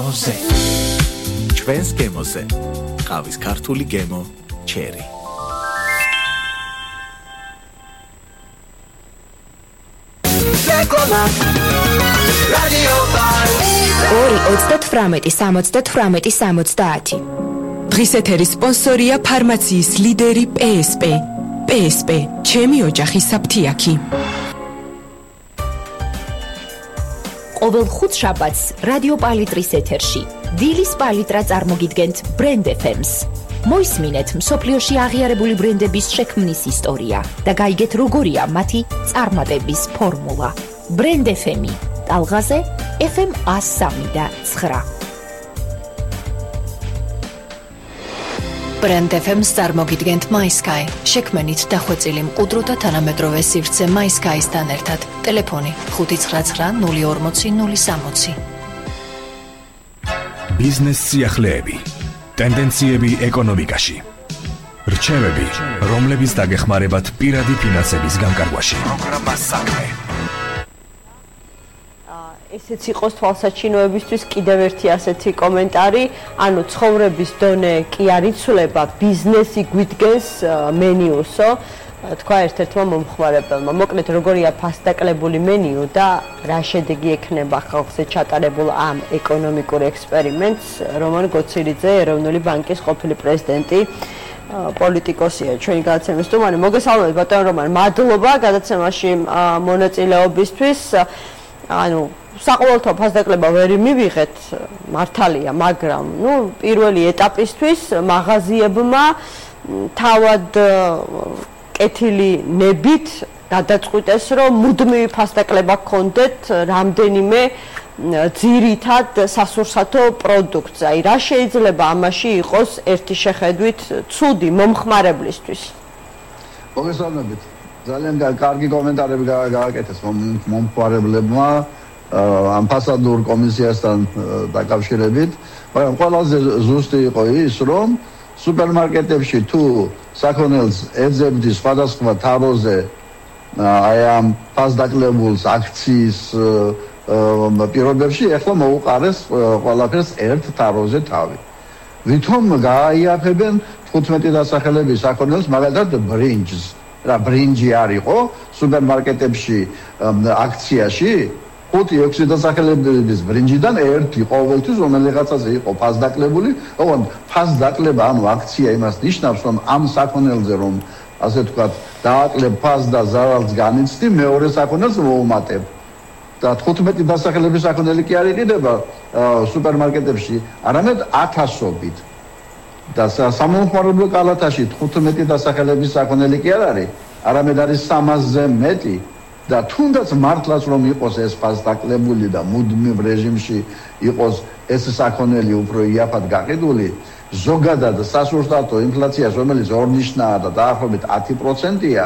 გემოზე. ჩვენს გემოზე. ყავის ქართული გემო ჩერი. რადიო 2-38-70-70. დღის ეთერის სპონსორია ფარმაციის ლიდერი PSP. PSP, ჩემი ოჯახის საფთიაქი. ყოველ ხუთშაბათს რადიო პალიტრის ეთერში დილის პალიტრა წარმოგიდგენთ Brand FM-ს. მოისმინეთ მსოფლიოში აღიარებული ბრენდების შექმნის ისტორია და გაიგეთ როგორია მათი წარმატების ფორმულა. Brand FM-ი, ტალღაზე FM 103.9. Brand FM-ს წარმოგიდგენთ MySky. შექმნით დახვეწილი მყუდრო და თანამედროვე სივრცე MySky-სთან ერთად. ტელეფონი 599-040-060. ბიზნეს სიახლეები, ტენდენციები ეკონომიკაში. რჩევები, რომლებიც დაგეხმარებათ პირადი ფინანსების განკარგვაში. პროგრამა საქმე. ესეც იყოს თვალსაჩინოებისთვის კიდევ ერთი ასეთი კომენტარი, ანუ ცხოვრების დონე კი არ იცვლება, ბიზნესი გვიდგენს მენიუსო, თქვა ერთ-ერთმა მომხმარებელმა. მოკლედ, როგორია ფასდაკლებული მენიუ და რა შედეგი ექნება ხალხზე ჩატარებულ ამ ეკონომიკურ ექსპერიმენტს, რომან გოცირიძე, ეროვნული ბანკის ყოფილი პრეზიდენტი, პოლიტიკოსია, ჩვენი გადაცემის სტუმარი. მოგესალმებით, ბატონო რომან, მადლობა გადაცემაში მონაწილეობისთვის. ანუ საყოველთაო ფასდაკლება ვერ მივიღეთ, მართალია, მაგრამ პირველი ეტაპისთვის მაღაზიებმა თავად კეთილი ნებით გადაწყვიტეს, რომ მუდმივი ფასდაკლება გქონდეთ რამდენიმე ძირითად სასურსათო პროდუქტს. აი, რა შეიძლება ამაში იყოს ერთი შეხედვით ცუდი მომხმარებლისთვის? მოგესალმებით. ძალიან კარგი კომენტარები გააკეთეს მომხმარებლებმა ამ ფასადურ კომისიასთან დაკავშირებით, მაგრამ ყველაზე ზუსტი იყო ის, რომ სუპერმარკეტებში თუ საქონელს ეძებდი სხვადასხვა თაროზე აი ამ ფასდაკლებულს აქციის პირობებში, ახლა მოუყარეს ყველაფერს ერთ თაროზე თავი. ვითომ გააიაფებენ 15 დასახელების საქონელს, მაგალითად ბრინჯს. რა ბრინჯი არისო სუპერმარკეტებში აქციაში 5-6 დასახელების ბრინჯიდან ერთი ყოველთვის რომელიღაცაზე იყო ფასდაკლებული, ოღონდ ფასდაკლება ანუ აქცია იმას ნიშნავს, რომ ამ საქონელზე რომ ასე ვთქვათ დააკლებ ფას და ზარალს განიცდი, მეორე საქონელს მოუმატებ. და 15 დასახელების საქონელი კი არ იყიდება სუპერმარკეტებში, არამედ 1000-ობით. და სამომხმარებლო კალათაში 15 დასახელების საქონელი კი არ არის, არამედ არის 300-ზე მეტი და თუნდაც მართლაც რომ იყოს ეს ფასდაკლებული და მუდმივ რეჟიმში იყოს ეს საქონელი უფრო იაფად გაყიდული, ზოგადად სასურსათო ინფლაციას, რომელიც ორნიშნაა და დაახლოებით 10%-ია,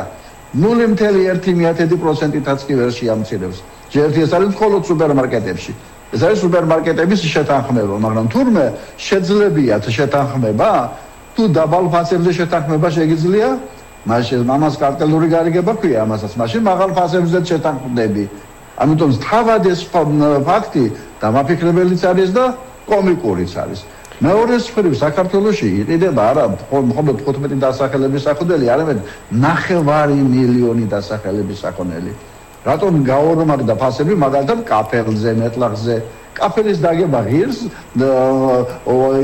0.1%-ითაც კი ვერ შეამცირებს. ჯერ ეს არის მხოლოდ სუპერმარკეტებში. ეს არის სუპერმარკეტების შეთანხმება, მაგრამ თურმე შეძლებიათ შეთანხმება, თუ დაბალ ფასებზე შეთანხმება შეგიძლია, მაშინ ამას კარტელური გარიგება ქვია ამასაც, მაშინ მაღალ ფასებზე შეთანხმდები. ამიტომ თავად ეს ფაქტი დამაფიქრებელიც არის და კომიკურიც არის. მეორე მხრივ საქართველოში იყიდება არა მხოლოდ 15 დასახელების საქონელი, არამედ 9 მილიონი დასახელების საქონელი. რატომ გაორმაგდა ფასები მაგალითად კაფელზე, მეტლახზე? კაფელის დაგება ღირს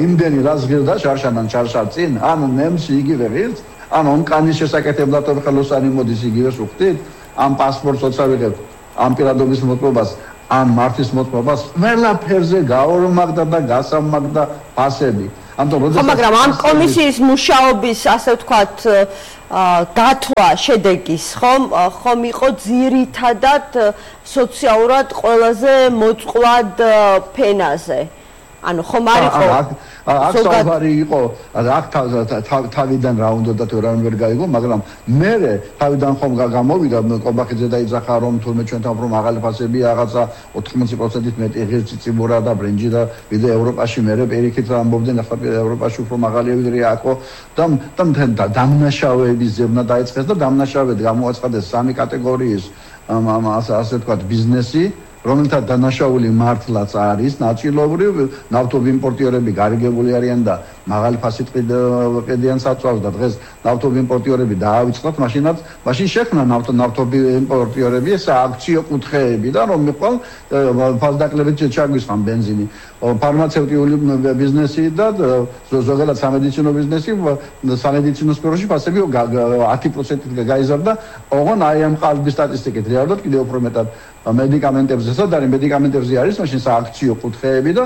იმდენი რაც ღირს და შარშანან ჩარშარ წინ, ან ნემსი იგივე ღირს, ან ონკანის შესაკეთებლად ხელოსანი მოდის იგივე სუხტით, ან პასპორტს ოცავიღებ, ან პირადობის მოწყობას, ან მართვის მოწყობას, ყველაფერზე გაორმაგდა და გასამაგდა ფასები. მაგრამ ამ კომისიის მუშაობის, ასე ვთქვათ, დათვა შედეგის ხომ იყო ძირითადად სოციალურად ყველაზე მოწყვლად ფენაზე. ანუ ხომ არ იყო აქ საუბარი იყო, აქ თავიდან რა უნდა და რა ვერ გაიგო, მაგრამ მე თავიდან ხომ გამოვიდა კობახიძე დაიძახა რომ თურმე ჩვენთან უფრო მაღალი ფასებია, რაღაცა 80%-ით მეტი ღირსი ციბურა და ბრინჯი და ვიდრე ევროპაში მე პირიქით ამბობდნენ, ახლა ევროპაში უფრო მაღალია ვიდრე აქო და დამნაშავეების ზებნა დაიწყეს და დამნაშავედ გამოაცხადეს 3 კატეგორიის ასე ვთქვათ ბიზნესი რომელთა დანაშაული მართლაც არის ნაწილობრივ ნავთობიმპორტიორები გარიგებული არიან და მაღალი ფასით ყიდიან საწვავს და დღეს ნავთობიმპორტიორები დაავიწყდათ მაშინ შექმნა ნავთობიმპორტიორები ეს აქციო კუთხეები და რომ მიყვალ ფასდაკლებით ჩაგვისხან ბენზინი ფარმაცევტიული ბიზნესი და ზოგადად სამედიცინო ბიზნესი სამედიცინო სფეროში ფასები 10%-ით გაიზარდა ოღონ აი ამ ყალბის სტატისტიკით რეალურად კიდევ უფრო მეტად მედიკამენტებზე სადარი მედიკამენტებზე არის მაშინ სააქციო კუთხეები და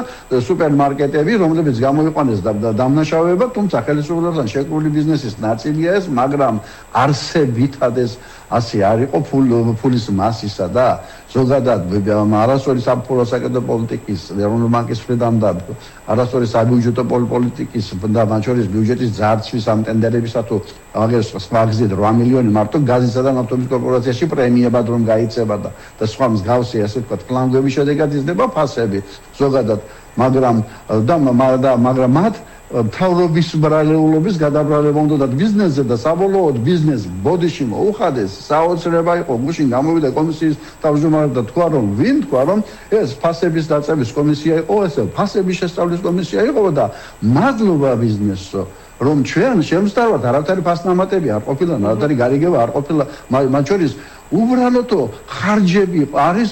სუპერმარკეტები რომლებიც გამოიყვანეს დამნაშავეებად თუმცა ხელისუფლებასთან შეკრული ბიზნესის ნაწილია ეს მაგრამ არსებითად ეს ასე არ იყო ფულის მასისა და ზოგადად არასწორი საფუძველი საკეთო პოლიტიკის ეროვნული ბანკის მხრიდან და არასწორი საბიუჯეტო პოლიტიკის და მათ შორის ბიუჯეტის ძარცვის ამ ტენდერებისა თუ აგერ სხვა გზით 8 მილიონი მარტო გაზისა და ნავთობის კორპორაციაში პრემიებად რომ გაიწება და სხვა მსგავსი ასე ვთქვათ ფლანგების შედეგად იზრდება ფასები ზოგადად მაგრამ მათ მთავრობის ბრალეულობის გადაბრალება უნდა ბიზნესზე და საბოლოოდ ბიზნეს ბოდიში მოუხადეს საოცრება იყო გუშინ გამოვიდა კომისიის თავმჯდომარე და თქვა რომ ვინ თქვა რომ ეს ფასების დაწევის კომისია იყო ეს ფასების შესწავლის კომისია იყო და მადლობა ბიზნესო რომ ჩვენ შემსწავლად არავითარი ფასნამატები არ ყოფილა არავითარი გარიგება არ ყოფილა მათ შორის უბრალოდ ხარჯები არის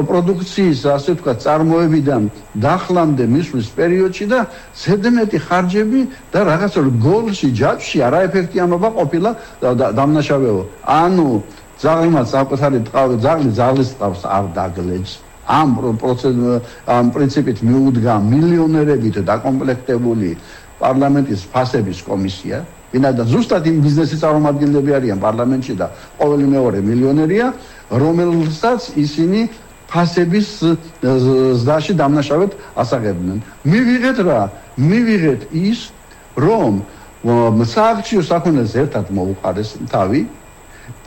პროდუქციის ასე ვთქვათ წარმოებიდან დახლამდე მისვლის პერიოდში და ზედმეტი ხარჯები და რაღაცა გოლში ჯაჭვში არა ეფექტიანობა ყოფილა დამნაშავეო ანუ ზაღლმაც საკუთარი ტყავი ზაღლის ტყავს არ დაგლეჯს ამ პრინციპით მიუდგა მილიონერებით დაკომპლექტებული პარლამენტის ფასების კომისია ვინაიდან ზუსტად იმ ბიზნესის წარმომადგენლები არიან პარლამენტში და ყოველი მეორე მილიონერია რომელსაც ისინი ფასების ზდაში დამნაშავედ ასაღებდნენ. მივიღეთ ის, რომ სააქციო საქონელს ერთად მოუყარეს თავი,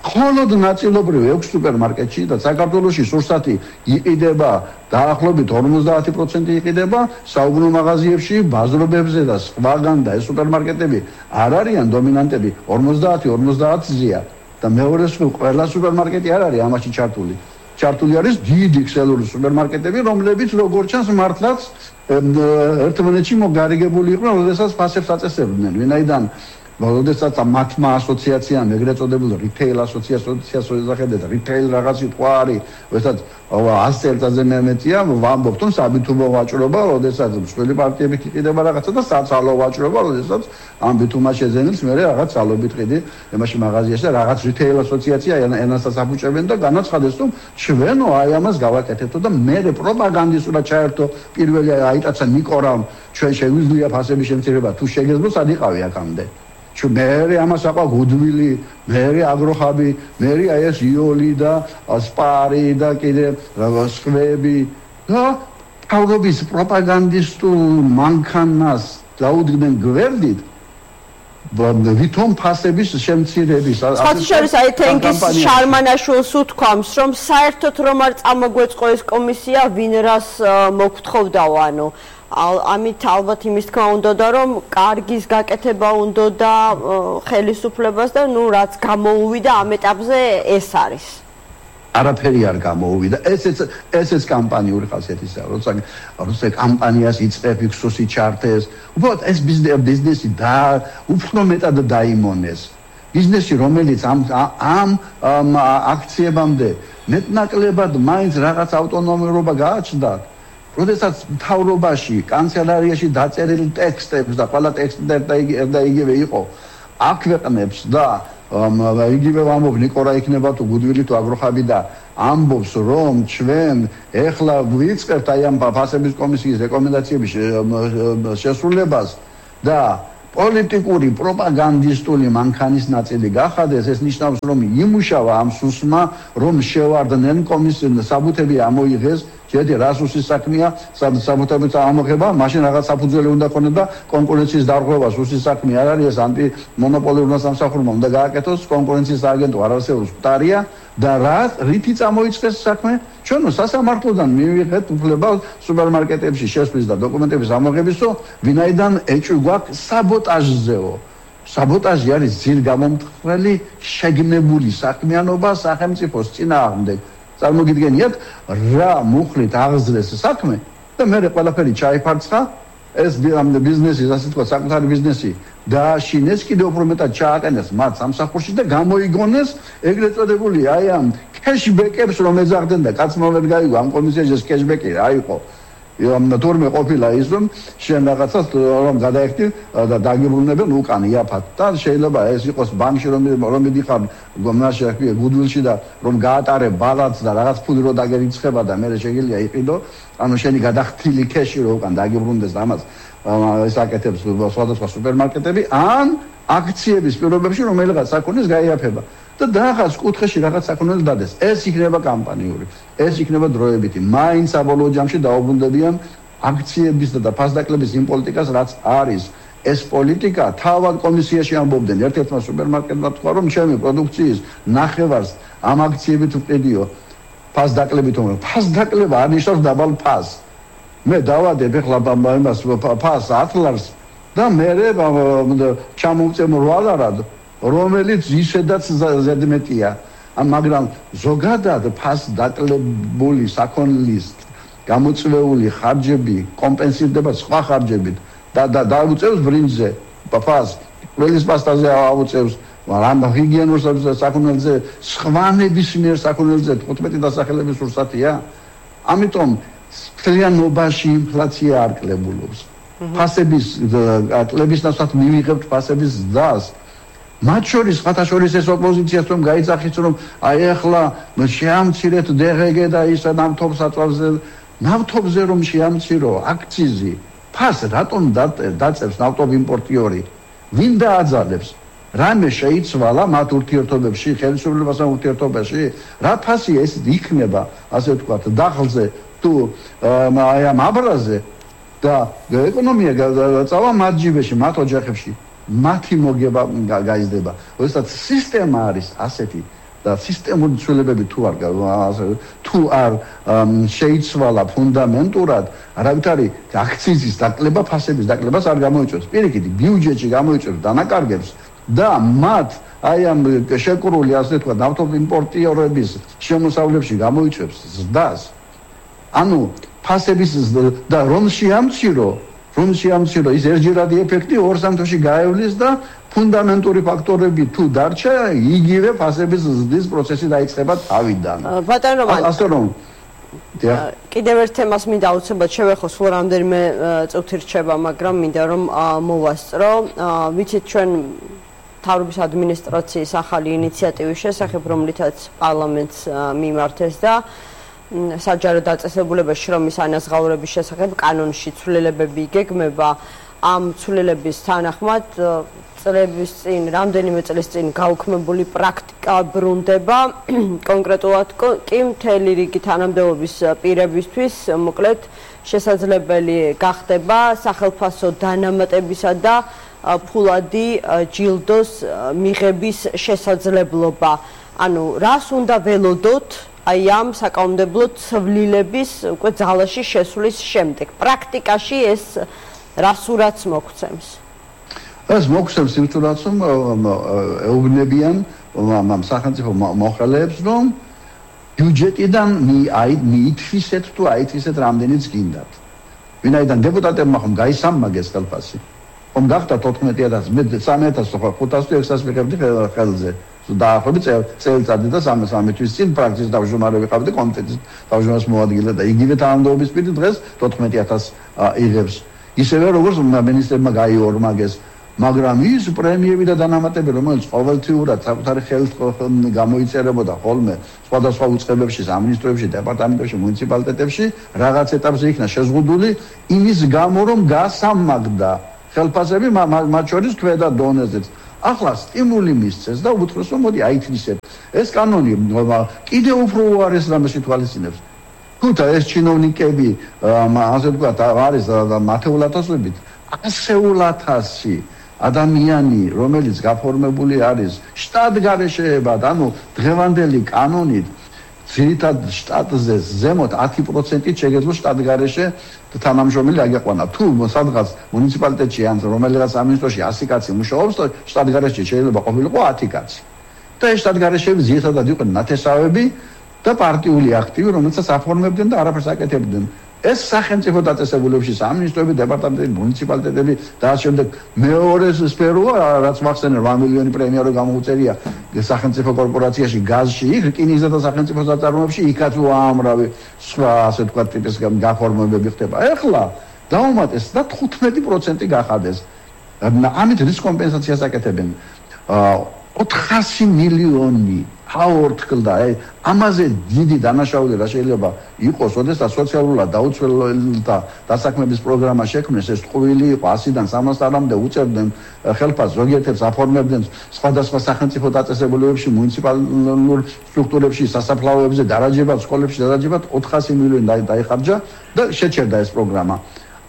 მხოლოდ ნაწილობრივ 6 სუპერმარკეტში და საქართველოში სურსათი იყიდება დაახლოებით 50% იყიდება საუბნო მაღაზიებში, ბაზრობებზე და სხვაგან და ეს სუპერმარკეტები არ არიან დომინანტები 50-50-ზეა და მეორე ყველა სუპერმარკეტი არ არის ამაში ჩართული არის დიდი ქსელური სუპერმარკეტები, რომლებიც როგორც ჩანს მართლაც ერთმანეთში მოგარიგებული იყვნენ, როდესაც ფასებს აწესებდნენ. ვინაიდან როდესაც მათმა ასოციაციამ ეგრეთ წოდებულ რიტეილ ასოციაციას ეძახებათ რიტეილ რაღაცი თქვა არის, როდესაც 100 წელიწადზე მეტია ვამბობთ რომ საბითუმო ვაჭრობა, როდესაც მსხვილი პარტიებით იყიდება რაღაცა და საცალო ვაჭრობა, როდესაც ამ ბითუმას შეძენილს მე რაღაც ძალობით ყიდი ემაში მაღაზიაში და რაღაც რიტეილ ასოციაცია ენასაც აფუჭებენ და განაცხადეს რომ ჩვენო აი ამას გავაკეთებთ და მე პროპაგანდისტურად ჩაერთო პირველი აიტაცა ნიკორამ ჩვენ შეგვიძლია ფასების შემცირება თუ შეგეძლო სად იყავი აქამდე მე ამას აყვა გუდვილი, მე აგროხაბი, მე აი ეს იოლი და სპარი და კიდე სხვები და თავრობის პროპაგანდისტულ მანქანას დაუდგნენ გვერდით ვითომ ფასების შემცირების სხვათა აი თენგის შარმანაშვილს უთქვამს რომ საერთოდ რომ არ წამოგვეწყო ეს კომისია ვინ რას მოგთხოვდაო ანუ ამით ალბათ იმის თქმა უნდა და რომ კარგის გაკეთება უნდა და ხელისუფლებას და ნუ რაც გამოუვიდა ამ ეტაპზე ეს არის არაფერი არ გამოუვიდა ესეც კამპანიური ხასიათისაა როცა კამპანიას იწყებ იქსოსი ჩართეს უბრალოდ ეს ბიზნესი და უფრო მეტად დაიმონეს ბიზნესი რომელიც ამ აქციებამდე მეტნაკლებად მაინც რაღაც ავტონომიობა გააჩნდა როდესაც მთავრობაში, კანცელარიაში დაწერილი ტექსტებს და ყველა ტექსტი და იგივე იყო, აქვეყნებს და იგივე ამბობს ნიკორა იქნება თუ გუდვილი თუ აგროხაბი და ამბობს რომ ჩვენ ეხლა ვიწყებთ აი ამ ფასების კომისიის რეკომენდაციების შესრულებას და პოლიტიკური პროპაგანდისტული მანქანის ნაწილი გახადეს ეს ნიშნავს რომ იმუშავა ამ სუსმა რომ შევარდნენ კომისიას საბუთები ამოიღეს შედი რასუსის საქმეა საბუთებით ამოღება მაშინ რაღაც საფუძველი უნდა ქონდეს და კონკურენციის დარღვევა სუსის საქმე არ არის ეს ანტიმონოპოლურმა სამსახურმა უნდა გააკეთოს კონკურენციის აგენტო არასეულს მტარია და რითი წამოიწყეს საქმე ჩვენო სასამართლოდან მივიღეთ უფლება სუპერმარკეტებში შესვლის და დოკუმენტების ამოღებისო ვინაიდან ეჭვი გვაქვს საბოტაჟზეო საბოტაჟი არის ძირ გამომთხრელი შეგნებული საქმიანობა სახელმწიფოს წინააღმდეგ წარმოგიდგენიათ რა მუხლით აღზრეს საქმე და მე ყველაფერი ჩაიფარცხა ეს ბიზნესი ასე თქვა საკუთარი ბიზნესი დააშინეს კიდევ უფრო მეტად ჩააყენეს მათ სამსახურში და გამოიგონეს ეგრეთ წოდებული აი ამ კეშბეკებს რომ ეძახდნენ და კაცმა ვერ გაიგო ამ კომისიაში კეშბეკი რა იყო თორმე ყოფილა ის რომ შენ რაღაცას რომ გადაიხდი და დაგიბრუნებენ უკან იაფად და შეიძლება ეს იყოს ბანკში რომ მიდიხარ გომნაში აქვია გუდვილში და რომ გაატარე ბალანს და რაღაც ფული რო დაგერიცხება და მე შეიძლება იყიდო ანუ შენი გადახდილი კეში რო უკან დაგიბრუნდეს და ამას ესაკეთებს სხვადასხვა სუპერმარკეტები ან აქციების პირობებში რომელიღაც საქონლის გაიაფება და რაღაც კუთხეში რაღაც საქონელი დადეს ეს იქნება კამპანიური ეს იქნება დროებითი მაინც საბოლოო ჯამში დაუბრუნდებიან აქციების და ფასდაკლების იმ პოლიტიკას რაც არის ეს პოლიტიკა თავად კომისიაში ამბობდნენ ერთ-ერთმა სუპერმარკეტმა თქვა რომ ჩემი პროდუქციის ნახევარს ამ აქციებით ვყიდიო ფასდაკლებით რომ ფასდაკლება არნიშნავს დაბალ ფასს მე დავადებ ახლა იმას ფასს 10 ლარს და მე ჩამოვწემ 8 ლარად რომელიც ისედაც ზედმეტია მაგრამ ზოგადად ფასდაკლებული საქონლის გამოწვეული ხარჯები კომპენსირდება სხვა ხარჯებით და დაუწევს ბრინჯზე ფას ყველის პასტაზე აუწევს მაგრამ ჰიგიენურ საქონელზე სხვა ნებისმიერ საქონელზე 15 დასახელების ურსათია ამიტომ მთლიანობაში ინფლაცია არ კლებულობს ფასების კლების ნაცვლად მივიღებთ ფასების ზრდას მათ შორის ხათაშორის ეს ოპოზიციას რომ გაიძახის რომ აი ახლა შეამცირეთ დღგ და ისა ნავთობზე რომ შეამცირო აქციზი ფას რატომ დაწევს ნავთობიმპორტიორი ვინ დააძალებს რამე შეიცვალა მათ ურთიერთობებში ხელისუფლებასთან ურთიერთობაში რა ფასი ეს იქნება ასე ვთქვათ დახლზე თუ აი ამ აბრაზე და ეკონომია წავა მათ ჯიბეში მათ ოჯახებში მათი მოგება გაიზრდება. როდესაც სისტემა არის ასეთი და სისტემური ცვლილებები თუ არ შეიცვალა ფუნდამენტურად, არავითარი აქციზის დაკლება, ფასების დაკლებას არ გამოიწვევს. პირიქით, ბიუჯეტში გამოიწვევს დანაკარგებს და მათ აი ამ შეკრული ასე თქვა ნავთობიმპორტიორების შემოსავლებში გამოიწვევს ზრდას. ანუ ფასების და რომ შეამცირო ის ერთჯერადი ეფექტი ორ სამთოში გაევლის და ფუნდამენტური ფაქტორები თუ დარჩა, იგივე ფასების ზრდის პროცესი დაიწყება თავიდან. ბატონო რომანი. ასე რომ კიდევ ერთ თემას მინდა აუცილებლად შევეხო, სულ რამდენიმე წუთი რჩება, მაგრამ მინდა რომ მოვასწრო. ვიცით ჩვენ თავრობის ადმინისტრაციის ახალი ინიციატივის შესახებ, რომლითაც პარლამენტს მიმართეს და საჯარო დაწესებულებაში შრომის ანაზღაურების შესახებ კანონში ცვლილებები იგეგმება. ამ ცვლილების თანახმად წლების წინ, რამდენიმე წლის წინ გაუქმებული პრაქტიკა ბრუნდება. კონკრეტულად კი მთელი რიგი თანამდებობის პირებისთვის, მოკლედ, შესაძლებელი გახდება სახელფასო დანამატებისა და ფულადი ჯილდოს მიღების შესაძლებლობა. ანუ რას უნდა ველოდოთ აი ამ საკანონმდებლო ცვლილების უკვე ძალაში შესვლის შემდეგ. პრაქტიკაში ეს რას ურაც მოგვცემს? ეს მოგვცემს იმ თურაც რომ ეუბნებიან ამ სახელმწიფო მოხელეებს რომ ბიუჯეტიდან მიითვისეთ თუ აითვისეთ რამდენიც გინდათ. ვინაიდან დეპუტატებმა ხომ გაისამაგეს ხელფასი. ხომ გახდა 14000 მე 3500 ვიღებდი ხელზე. დაახლოებით წელიწადი და 3 თვის წინ პრაქტიკის თავმჯდომარე ვიყავდი კომიტეტის თავმჯდომარის მოადგილე და იგივე თანამდებობის პირი დღეს 14000 იღებს. ისევე როგორც მინისტრებმა გაიორმაგეს, მაგრამ ის პრემიები და დანამატები, რომელიც ყოველთვიურად საკუთარი ხელით გამოიწერებოდა ხოლმე სხვადასხვა უწყებებში, სამინისტროებში, დეპარტამენტებში, მუნიციპალიტეტებში, რაღაც ეტაპზე იქნა შეზღუდული იმის გამო, რომ გასამაგდა ხელფასები მათ შორის ქვედა დონეზეც. ახლა სტიმული მისცეს და უთხრეს რომ მოდი აითვისეთ. ეს კანონი კიდევ უფრო უარეს რამეს ითვალისწინებს. თუმცა ეს ჩინოვნიკები ასე ვთქვათ არის მათეულათასობით 100,000 ადამიანი, რომელიც გაფორმებული არის შტატგარეშეებად, ანუ დღევანდელი კანონით ძირითად შტატზე ზემოთ 10% შეგეძლო შტატგარეშე თანამშრომელი აგეყვანა. თუ სადღაც მუნიციპალიტეტში ან რომელიღაც სამინისტროში 100 კაცი მუშაობს, შტატგარეშე შეიძლება ყოფილიყო 10 კაცი. და ეს შტატგარეშეები ძირითადად იყვნენ ნათესავები და პარტიული აქტივი, რომელსაც აფორმებდნენ და არაფერს აკეთებდნენ. ეს სახელმწიფო დაწესებულებში სამინისტროები, დეპარტამენტები, მუნიციპალიტეტები და ამ შემდეგ მეორე სფეროა, რაც მახსენე 8 მილიონი პრემია რო გამოუწერია სახელმწიფო კორპორაციაში, გაზში, იქ რკინიგზა და სახელმწიფო საწარმოებში, იქაც უამრავი სხვა ასე ვთქვათ ტიპის გაფორმებები ხდება. ეხლა დაუმატეს და 15% გახადეს. ამით რის კომპენსაციას აკეთებენ? 400 მილიონი აორთქლდა, ამაზე დიდი დანაშაული რა შეიძლება იყოს, ოდესაც სოციალურად დაუცველთა დასაქმების პროგრამა შექმნეს, ეს ტყუილი იყო 100-დან 300-მდე უწევდნენ ხელფასს, ზოგიერთებს აფორმებდნენ სხვადასხვა სახელმწიფო დაწესებულებებში, მუნიციპალურ სტრუქტურებში, სასაფლაოებზე, დარაჯებად, სკოლებში დარაჯებად 400 მილიონი დაიხარჯა და შეჩერდა ეს პროგრამა.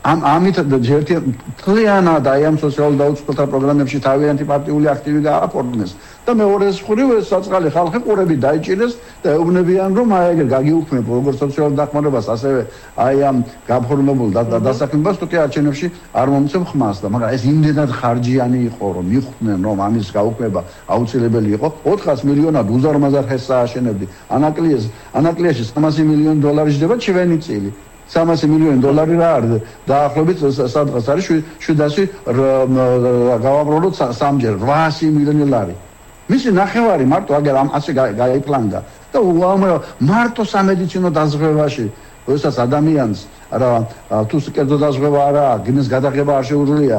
ამით ერთი თლიანად აი ამ სოციალურ დაუცველთა პროგრამებში თავიანთი პარტიული აქტივი გააფორმეს და მეორე მხრივ ეს საწყალი ხალხი ყურები დაიჭირეს და ეუბნებიან რომ აი ეგრე გაგიუქმებ როგორც სოციალურ დახმარებას ასევე აი ამ გაფორმებულ დასაქმებას თუ კი არჩევნებში არ მომცემ ხმას და მაგრამ ეს იმდენად ხარჯიანი იყო რომ მიხვდნენ რომ ამის გაუქმება აუცილებელი იყო 400 მილიონად უზარმაზარ ხეს ააშენებდი ანაკლიაში 300 მილიონი დოლარი ჯდება ჩვენი წილი 300 მილიონი დოლარი რა არის დაახლოებით სადღაც არის 700 გავამრავლოთ სამჯერ 800 მილიონი ლარი მისი ნახევარი მარტო აგერ ამ ასე გაიფლანგა და უამრავ მარტო სამედიცინო დაზღვევაში როდესაც ადამიანს რა თუ კერძო დაზღვევა არა გიმის გადაღება არ შეუძლია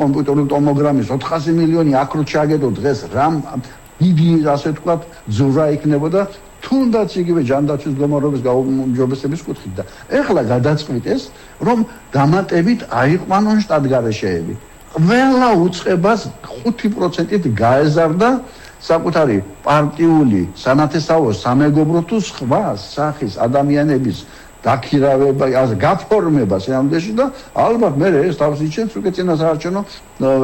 კომპიუტერული ტომოგრამის 400 მილიონი აქრო ჩაგედო დღეს რამ დიდი ასე ვთქვათ ძურა იქნებოდა თუნდაც იგივე ჯანდაცვის გამარობის გაუმჯობესების კუთხით და ეხლა გადაწყვიტეს რომ დამატებით აიყვანონ შტატგარეშეები. ყველა უწყებას 5%-ით გაეზარდა საკუთარი პარტიული სანათესაო სამეგობრო თუ სხვა სახის ადამიანების დაქირავება, გაფორმება სამდეში და ალბათ მე ეს თავს იჩენს უკვე წინასაარჩევნო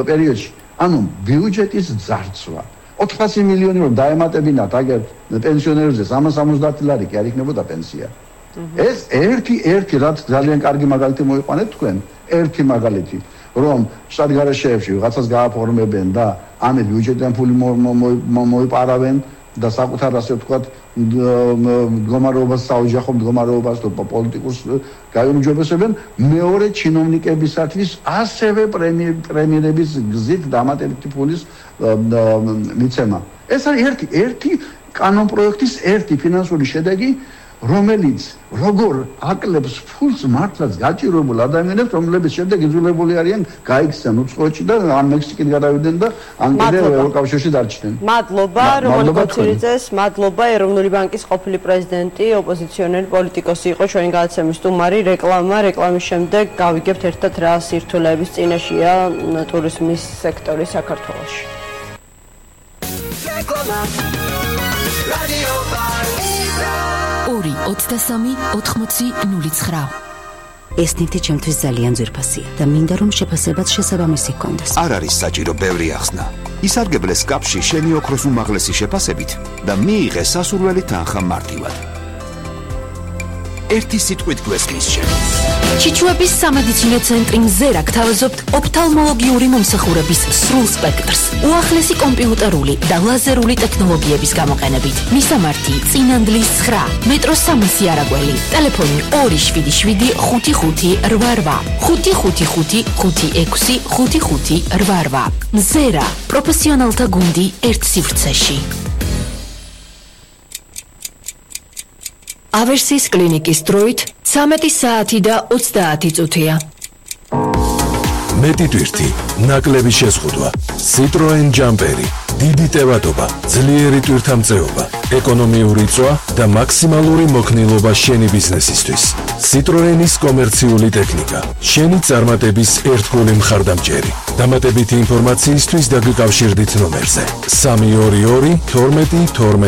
პერიოდში. ანუ ბიუჯეტის ძარცვა 400 მილიონი რომ დაემატებინათ აგერ პენსიონერებზე 370 ლარი კი არ იქნებოდა პენსია. ეს ერთი რაც ძალიან კარგი მაგალითი მოიყვანეთ თქვენ, ერთი მაგალითი რომ შტატგარეშეებში ვიღაცას გააფორმებენ და ამით ბიუჯეტიდან ფული მოიპარავენ და საკუთარ ასე ვთქვათ მდგომარეობას საოჯახო მდგომარეობას თუ პოლიტიკურს გაიუმჯობესებენ მეორე ჩინოვნიკებისათვის ასევე პრემიერების გზით დამატებითი ფულის მიცემა. ეს არის ერთი კანონპროექტის ერთი ფინანსური შედეგი რომელიც როგორ აკლებს ფულს მართლაც გაჭირებულ ადამიანებს რომლებიც შემდეგ იძულებული არიან გაიქცნენ უცხოეთში და ან მექსიკით გადავიდნენ და ან კიდევ ევროკავშირში დარჩნენ. მადლობა რომან კოცილიძეს, მადლობა ეროვნული ბანკის ყოფილი პრეზიდენტი, ოპოზიციონერი პოლიტიკოსი იყო ჩვენი გადაცემის სტუმარი. რეკლამის შემდეგ გავიგებთ ერთად რა სირთულეების წინაშეა ტურიზმის სექტორი საქართველოში. რადიო 2-23-80-09. ეს ნივთი ჩემთვის ძალიან ძვირფასია და მინდა რომ შეფასებაც შესაბამისი ჰქონდეს. არ არის საჭირო ბევრი ახსნა. ისარგებლე სკაფში შენი ოქროს უმაღლესი შეფასებით და მიიღე სასურველი თანხა მარტივად. ერთი სიტყვით გვესმის შენ. ჩიჩუების სამედიცინო ცენტრი მზერა გთავაზობთ ოფთალმოლოგიური მომსახურების სრულ სპექტრს, უახლესი კომპიუტერული და ლაზერული ტექნოლოგიების გამოყენებით. მისამართი წინანდლის 9, მეტრო 300 არაგველი, ტელეფონი 277 55 88, 555 56 55 88. მზერა, პროფესიონალთა გუნდი ერთ სივრცეში. ავერსის კლინიკის დროით 13 საათი და 30 წუთია. მეტი ტვირთი, ნაკლები შეზღუდვა, Citroen Jumperi, დიდი ტევადობა, ძლიერი ტვირთამწეობა, ეკონომიური წვა და მაქსიმალური მოქნილობა შენი ბიზნესისთვის. Citroenis კომერციული ტექნიკა, შენი წარმატების ერთგული მხარდამჭერი. დამატებითი ინფორმაციისთვის დაგიკავშირდით ნომერზე 322 12 12